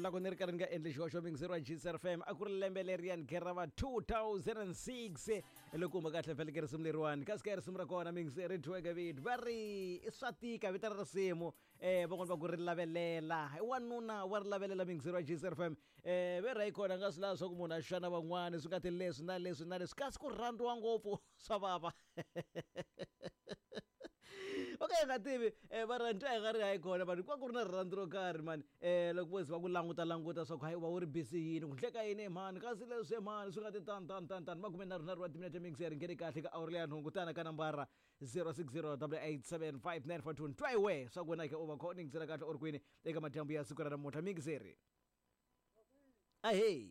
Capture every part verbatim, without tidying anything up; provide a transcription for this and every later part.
Loko ni ri karhi ni nga endli xihoxo mingizeri wa G C F M a ku ri lembe leriyani gerava two thousand six loko huma kahle vhele ke risimu leriwani kasi ka risimu ra kona mingizeri dyiweke vito va ri i swa tika vito ra risimu eh van'wani va ku ri lavelela wanuna wa ri lavelela mingizeri wa G C F M eh ve ra yi kona nga swi lava swa ku munhu a xana van'wani swi nga ti leswi na leswi na leswi kasi ku rhandziwa ngopfu swa vava. Okay nga tivi eh va rhandza hi nga ri hayi kona vanhu kwa ku ri na rirhandzu ro karhi mani eh loko vo ze va ku languta languta swa ku hayi u va u ri busy yini ku ndleka yini mhani kasi leswi mhani swi nga ti tani tani tani tani makume nharhu nharhu wa timinete mixer ngheni kahle ka awuri leya nhungu tana ka nambara zero six zero double eight seven five nine four two ntwayiwe swa ku wena ke u va kho ningisela kahle u ri kwini eka madyambu ya siku ra namuntlha mixeri ahey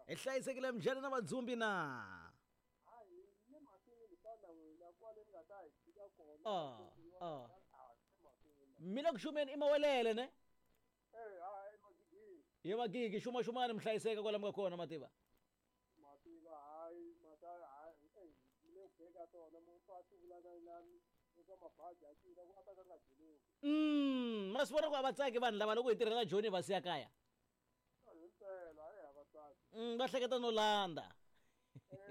hi hlayisekile mjhani na vadzumbi na. Ah, ah. Mina kuxumeni i mawelele ne? Eh, hayi magigi. Ye magigi xuma xumani mhlayiseka kwala mi nga kona mativa. Mativa hayi mata hayi eh le beka tona mo fa vula na nami eka mabaji a tila ku ata ka nga jelo. Mm, ma swi vona ku a va tsaki vanhu lava loko hi tirhela Joni va siya kaya. Himpela eh a va tsaki. Mm, va hleketa no landa. Eh,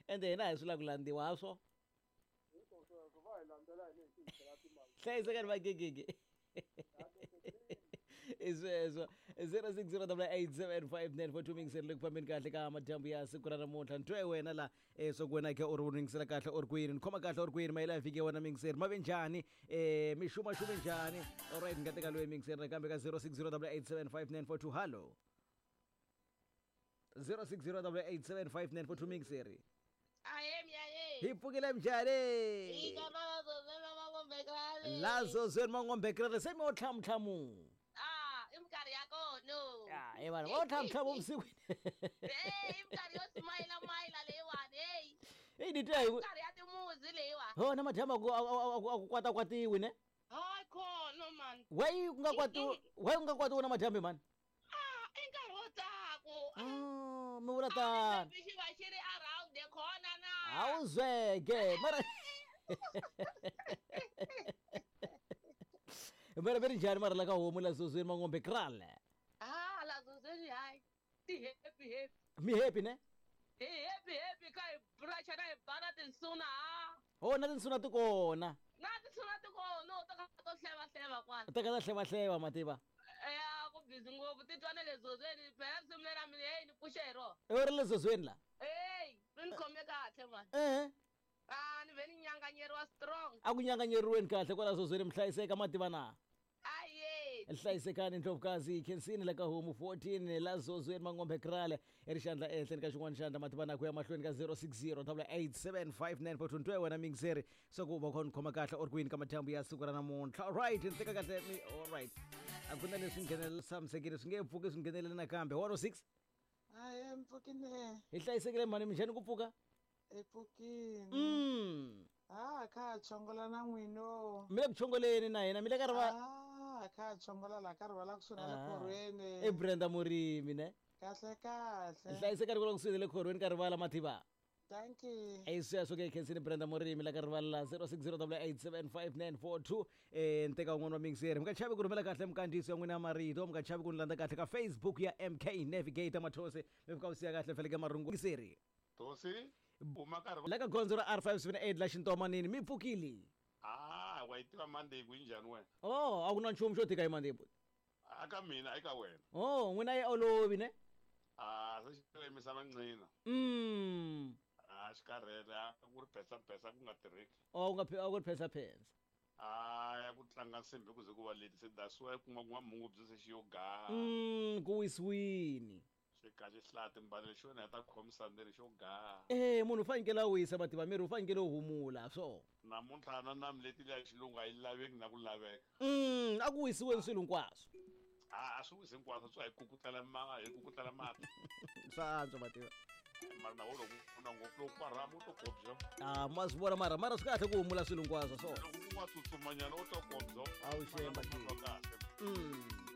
ende hina hi swi lava ku landziwa ha swo. Hlayisekani vagegege. I sweswo zero six zero double eight seven five nine four two mingiseri le ku fambeni kahle ka madyambu ya siku ra namuntlha ntwe wena la eh swa ku wena ke u ri ningisela kahle u ri kwini ni khoma kahle u ri kwini mayela ya vhiki ya wena mingiseri ma ve njhani eh mixuma xume njhani alright ni nga teka loyi mingiseri nakambe ka zero six zero double eight seven five nine four two hallo zero six zero double eight seven five nine four two mingiseri. Hi pfukile njhani? Lazo zweni mangombekrele se mi wo tlhamutlhamu. Ah, i minkarhi ya kona. Ah, e vanhu va wo tlhamutlhamu vusikwini. Eh, i minkarhi yo smayila mayila leyiwani, hey. Hey, ni twa hi minkarhi ya timuzi leyiwani. Ho na madyambu a ku a ku kwatakwatiwi ne? Hayi khona man. Why ku nga kwatiwi, why ku nga kwatiwi na madyambu mani? Ah, i nkarhi wo tsako. Ah, mi vula tano. Xi va xi ri around the corner na. A wu zweke mara mara ve ri njhani mara la ka homu la zozweni mangombe krale? Ah, la zozweni hayi ti happy happy. Mi happy ne? Hi happy happy ka hi brush na hi bana tinsuna ha. Ho na tinsuna ti kona. Na tinsuna ti kona ta ka to hleva hleva kwala. Ta ka ta hleva hleva mativa. Ya ku busy ngopfu ti twa na le zozweni phela risimu leri ra mina hey ni pfuxe hi rona. I ri le zozweni la? Hey, ri ni khome kahle man. Eh. Ah, ni ve ni nyanganyeriwa strong. A ku nyanganyeriweni kahle kwala zozweni mhlayiseka mativa na? Aye. Hlayisekani ndlovukazi khensini la ka homu fourteen la zozweni mangombe krale i ri xandla ehenhleni ka xin'wana xandla mativa na ku ya mahlweni ka zero six zero double eight seven five nine four two ntwe wena mingiseri swa ku va kha ni khoma kahle u ri kwini ka madyambu ya siku ra namuntlha. Alright, ni teka kahle mi alright. A ku na leswi nghenelela tshamisekile swi nge pfuki swi nghenelele nakambe one oh six. Hayi mpfukile. Hi hlayisekile mhani minjhani ku pfuka? Hi pfukile. Mm. Ah, kha chongola na n'wino. Mi le ku chongoleni na hina mi le ka riva. Ah, kha chongola la ka rivala kusuhi na le khorweni. I Brenda Murimi ne? Kahle kahle. Hlayiseka ri kula kusuhi na le khorweni ka rivala mativa. Thank you. I sweswo ke khensini Brenda Murimi la ka rivala zero six zero double eight seven five nine four two eh nteka un'wana wa mingiseri mi nga chavi ku rhumela kahle minkandziyiso ya n'wina ya marito mi nga chavi ku ni landza kahle ka Facebook ya M K Navigator Mathose mi fika u siya kahle feleke marungu mingiseri. Tosi uma ka la ka gondzo ra R five seven eight la xintomanini mi pfukile. Ah, wa yi tiva Monday ku njhani wena? Oh, a ku na nchumu xo tika hi Monday. Aka mina eka wena. Oh, n'wina yi olovi ne? Ah, se xi lemisa manqina. Mm. Ah, xikarhele a ku ri phesa phesa ku nga tirheki. Oh, ku nga a ku ri phesa phesa. Ah, ya ku tlanga nsimbi ku ze ku va late se that's why kuma kuma mungubye se xi yo ga. Mm, ku wisiwini. Xi ka xi hlaya timbanelo xi wena ta khomisa ndzeni xo ga. Eh, munhu u fanekele a wisa mativa miri u fanekele u humula swo. Namuntlha na na mleti leya xilungu a yi laveki na ku laveka. Mm, a ku wisiweni swilo hinkwaswo. Ah, a swi wisi hinkwaswo swi hi kukutlela ma hi kukutlela mati. Swa antswa mativa. Mara na wona ku na ngopfu loko parama u to kobya. Ah, ma swi vona mara mara swi kahle ku humula swilo hinkwaswo swo. Loko ku nga tsutsumanyana u to kobya. A wu xemba kahle. Mm.